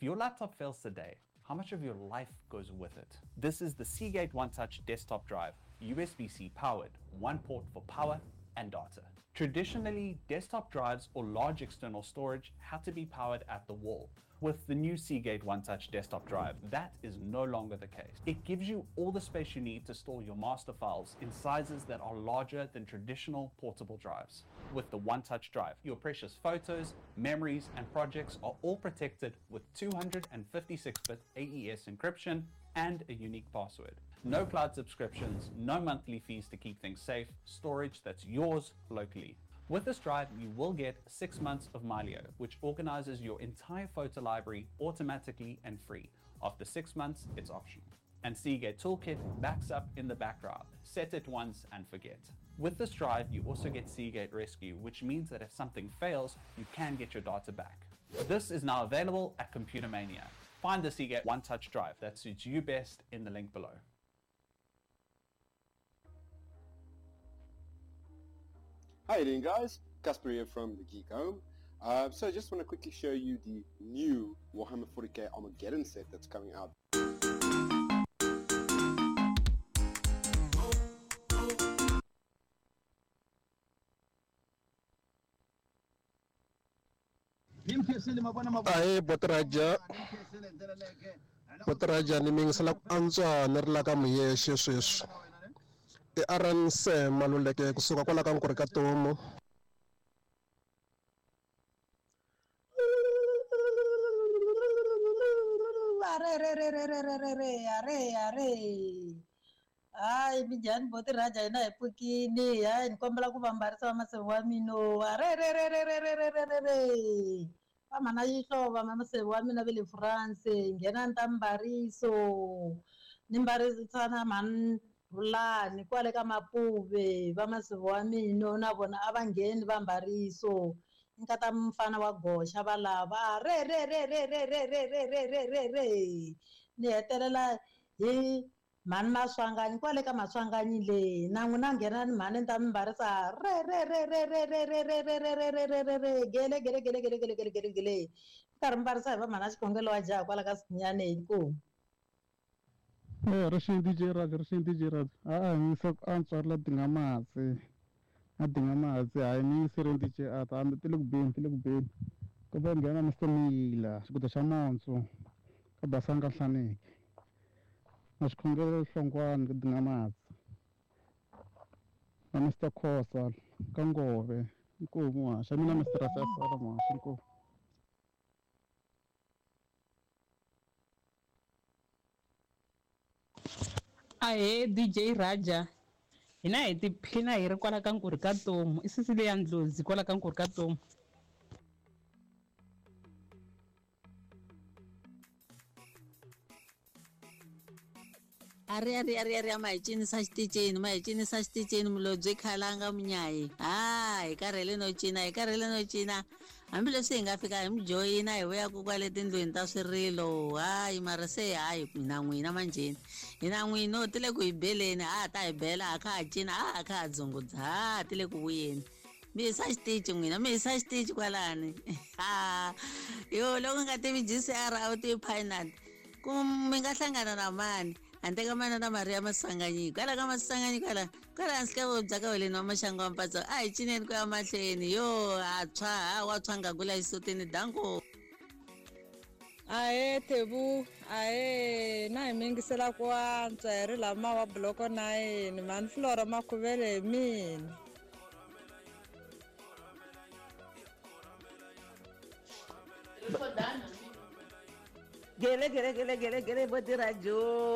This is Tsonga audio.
If your laptop fails today, how much of your life goes with it? This is the Seagate OneTouch desktop drive, USB-C powered, one port for power and data. Traditionally, desktop drives or large external storage had to be powered at the wall. With the new Seagate OneTouch desktop drive, that is no longer the case. It gives you all the space you need to store your master files in sizes that are larger than traditional portable drives. With the OneTouch drive, your precious photos, memories, and projects are all protected with 256-bit AES encryption and a unique password. No cloud subscriptions, no monthly fees to keep things safe, storage that's yours locally. With this drive, you will get 6 months of Mylio, which organizes your entire photo library automatically and free. After 6 months, it's optional. And Seagate Toolkit backs up in the background. Set it once and forget. With this drive, you also get Seagate Rescue, which means that if something fails, you can get your data back. This is now available at Computer Mania. Find the Seagate OneTouch drive that suits you best in the link below. How you doing, guys? Casper here from The Geek Home. So I just want to quickly show you the new Warhammer 40k Armageddon set that's coming out. Ahee Botiraja, Botiraja ni mi yingisela ku antswa ni ri la ka Muyexe sweswi. I RNC Maluleke kusuka kwala ka Nkurhi ka Tomu. Are re re re re re re re are are. Hayi minjhani Botiraja hina hi pfukini hayi ni kombela ku va mbarisa va maseve wa mina are re re re re re re re re re va mhana Yihlovo va maseve wa mina va le France nghena ni ta mbariso ni mbarisa na mhani Rhulani kwale ka Mapuve va maseve wa mina na vona a va ngheni va mbariso nkata mfana wa goxa va lava re re re re re re re re re re re re ni hetelela hi mhani Maswanganyi kwale ka Maswanganyi le na n'wina nghena ni mhani ni ta mi mbarisa re re re re re re re re re re re re re re re gele gele gele gele gele gele gele gele karhi mbarisa hi va mhana xikhongelo wa jaha kwala ka Sinyane inkomu. Rixini DJ Raj, rixini DJ Raj. A mi se ku antswa ri la dinga matsi. A dinga matsi hayi mi yingiserini DJ Ata hambi ti le ku beni ti le ku beni. Ku va nghena Mr Mila xikuta xa Monso ka Basanga Nhlaneki. Na xikhongelo Hlongwane ka dinga matsi. Na Mr Khosa ka Ngove inkomu muhaxi mina Mr Rasasala muhaxi inkomu. Ahee DJ Raja, hina hi tiphina hi ri kwala ka Nkurhi ka Tomu i sisi leya Ndlozi kwala ka Nkurhi ka Tomu. Are are are are ma hi cinisa xitichini ma hi cinisa xitichini mulobye khalanga munyayi ha hi karhele no cina hi karhele no cina hambileswi hi nga fika hi mi joyina hi vuya ku kwale tindlwini ta swirilo hayi mara se hayi hina n'wina manjheni hina n'wina ti le ku hi beleni ha ta hi bela ha kha ha cina ha kha ha dzungudza ha ti le ku vuyeni mi hisa xitichi n'wina mi hisa xitichi kwalani ha yo loko nga tivi GCR a wu tivi Pinat ku mi nga hlangana na mani handle ka mana na Maria Maswanganyi kwala ka Maswanganyi kwala kwala hansi ka vobya ka weleni wa maxangu wa mpatso a hi cineni ku ya mahlweni yo ha tshwa ha wa tshwa nga kula xisutini danko. Ahee Thebu, ahee na hi mi yingisela ku antswa hi ri lama wa buloko 9 mhani Flora Makhuvele hi mina. Gele gele gele gele gele Botirajo.